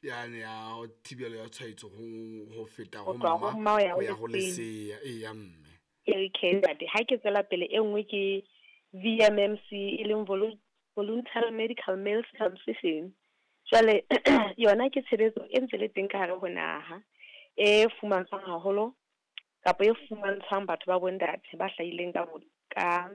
Yane ya thibelo ya tshwaetso ho feta Ho ho tloha ho mma mma ho ya ho ho ya ho lesea. lesea. Eya mme. Okay ntate, ha ke tswela pele e nngwe ke VMMC e leng Voluntary Medical Male Circumcision. Jwale yona ke tshebetso e ntse le teng ka hare ho naha, e fumantshwang haholo kapa e fumantshwang batho ba bontate ba hlahileng ka bo, ka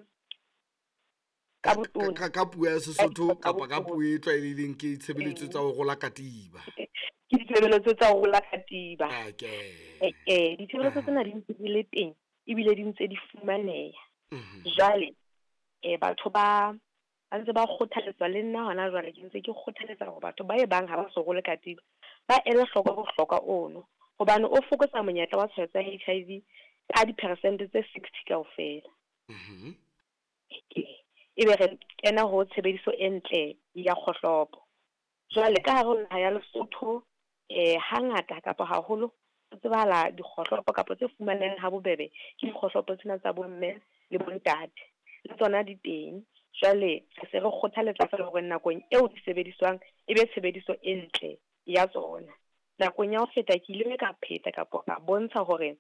Ka ka botona. ka puo ya Ka Sesotho ditho tsa kapa ka botona. puo e tlwaelehileng ke tshebeletso tsa ho rola katiba. Ke ditshebeletso tsa ho rola katiba. Okay. Ditshebeletso tsena di ntse di le teng ebile di ntse di fumaneha. Jwale batho ba ntse ba kgothaletswa le nna hona jwale ke ntse ke kgothaletsa hore batho ba e bang ha ba so role katiba ba ele hloko bohlokwa ono, hobane o fokotsa monyetla wa tshwaetso ya HIV ka diperesente tse 60 kaofela. Ebe re kena ho tshebediso e ntle ya kgohlopo. Jwale ka hare ho naha ya Lesotho, hangata kapa haholo ho tsebahala dikgohlopo kapa tse fumanehang ha bobebe ke dikgohlopo tsena tsa bomme le bontate, le tsona di teng. Jwale re se re kgothaletsa feela hore nakong eo di sebediswang e be tshebediso e ntle ya tsona. Nakong ya ho feta ke ile ka pheta kapa ka bontsha hore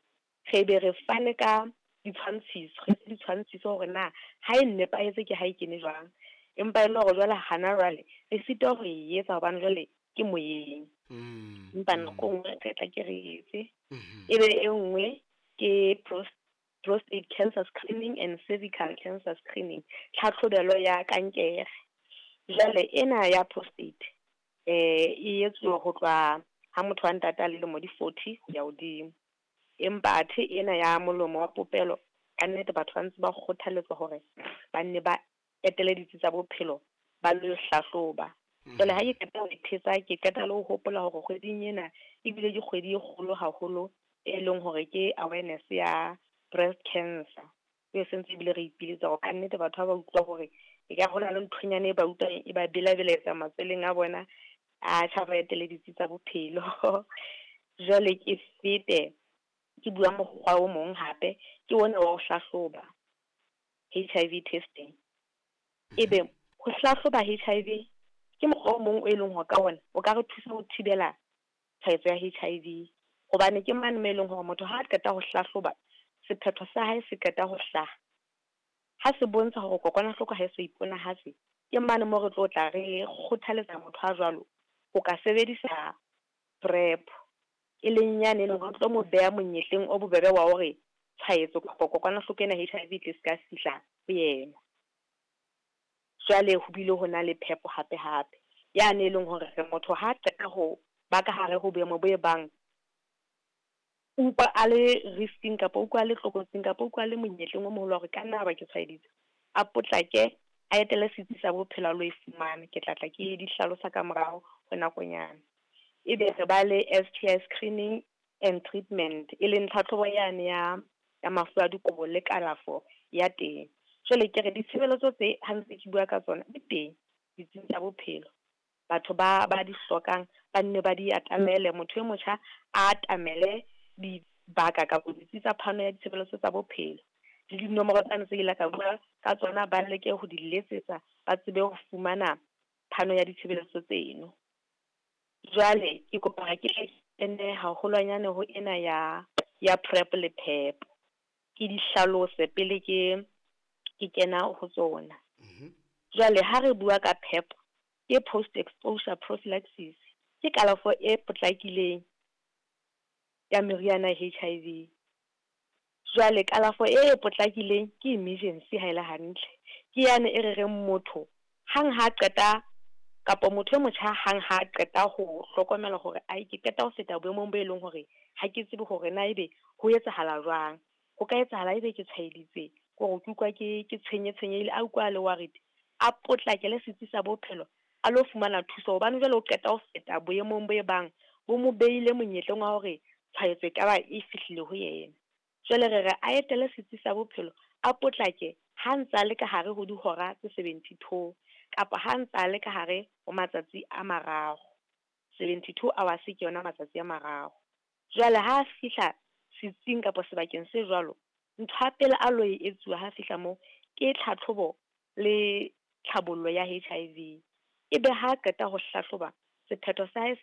re be re fane ka ditshwantshiso, re etse ditshwantshiso hore na ha e nepahetse ke ha e kene jwang. Empa e le hore jwale hana jwale re sitwa ho e etsa hobane jwale ke moyeng. Empa nako e nngwe re tla ke re etse. Ebe e nngwe ke prostate cancer screening and cervical cancer screening, tlhatlhobelo ya kankere. Jwale ena ya prostate e etsuwa ho tloha ha motho wa ntate a le lemo di 40 ho ya hodimo. Empa athe ena ya molomo wa popelo ka nnete batho ba ntse ba kgothaletswa hore ba nne ba etele ditsi tsa bophelo ba lo hlahloba. Jwale ha ke qeta ho thetsa, ke qeta le ho hopola hore kgweding ena ebile ke kgwedi e kgolo haholo e leng hore ke awareness ya breast cancer. E sentse ebile re ipiletsa hore ka nnete batho ha ba utlwa hore e ka hona le nthonyana e ba utlwang e ba belabeletsa matsweleng a bona, a tjha ba etele ditsi tsa bophelo. Jwale ke fete ke bua mokgwa o mong hape, ke ona wa ho hlahloba HIV testing. Ebe ho hlahloba HIV ke mokgwa o mong o e leng hore ka ona o ka re thusa ho thibela tshwaetso ya HIV, hobane ke mane mo e leng hore motho ha a qeta ho hlahloba, sephetho sa hae se qeta ho hlaha, ha se bontsha hore kokwanahloko ha e so iponahatse, ke mane mo re tlo tla re kgothaletsa motho a jwalo ho ka sebedisa PrEP, e leng yane e leng hore tlo mo beha monyetleng o bobebe wa hore tshwaetso kapa kokwanahloko ena HIV e tle se ka fihla ho yena. Jwale ho bile ho na le phepo hape hape yane e leng hore re motho ha qeta ho ba ka hare ho boemo bo e bang utlwa a le risking kapa utlwa a le tlokotsing kapa utlwa a le monyetleng o moholo wa hore ka nna ba ke tshwaeditse, a potlake a etele setsi sa bophelo a lo e fumana. Ke tla tla ke di hlalosa ka morao ho nakonyana. Ebe re ba le STI screening and treatment, e leng tlhatlhobo yane ya mafu a dikobo le kalafo ya teng. Jwale ke re ditshebeletso tse ha ntse ke bua ka tsona di teng ditsing tsa bophelo. Batho ba di hlokang ba nne ba di atamele, motho e motjha a atamele dibaka kapa ditsi tsa phano ya ditshebeletso tsa bophelo. Le dinomoro tsane tse ile ka bua ka tsona ba leke ho di letsetsa, ba tsebe ho fumana phano ya ditshebeletso tseno. Jwale ke kopa hore ke kene haholwanyane ho ena ya PrEP le PEP. Ke di hlalose pele ke kena ho tsona. Jwale ha re bua ka PEP, ke post exposure prophylaxis, ke kalafo e potlakileng ya meriana ya HIV. Jwale kalafo e potlakileng ke emergency ha ele hantle. Ke yane e re reng motho hang ha qeta kapa motho e motjha hang ha qeta ho hlokomela hore ai ke qeta ho feta boemong bo e leng hore ha ke tsebe hore na ebe ho etsahala jwang. Ho ka etsahala ebe ke tshwaeditse, hore ke utlwa ke tshwenye tshwenyehile, a utlwa le worried, a potlakele setsi sa bophelo a lo fumana thuso, hobane jwale o qeta ho feta boemong bo e bang bo mo beile monyetleng wa hore tshwaetso e ka ba e fihlile ho yena. Jwale re re a etele setsi sa bophelo, a potlake ha ntsa le ka hare ho dihora tse 72 kapa ha ntsa le ka hare ho matsatsi a mararo. 72 hours ke yona matsatsi a mararo. Jwale ha a fihla setsing kapa sebakeng se jwalo, ntho ya pele a lo e etsuwa ha fihla moo ke tlhatlhobo le tlhabollo ya HIV. Ebe ha qeta ho hlahloba, sephetho sa hae se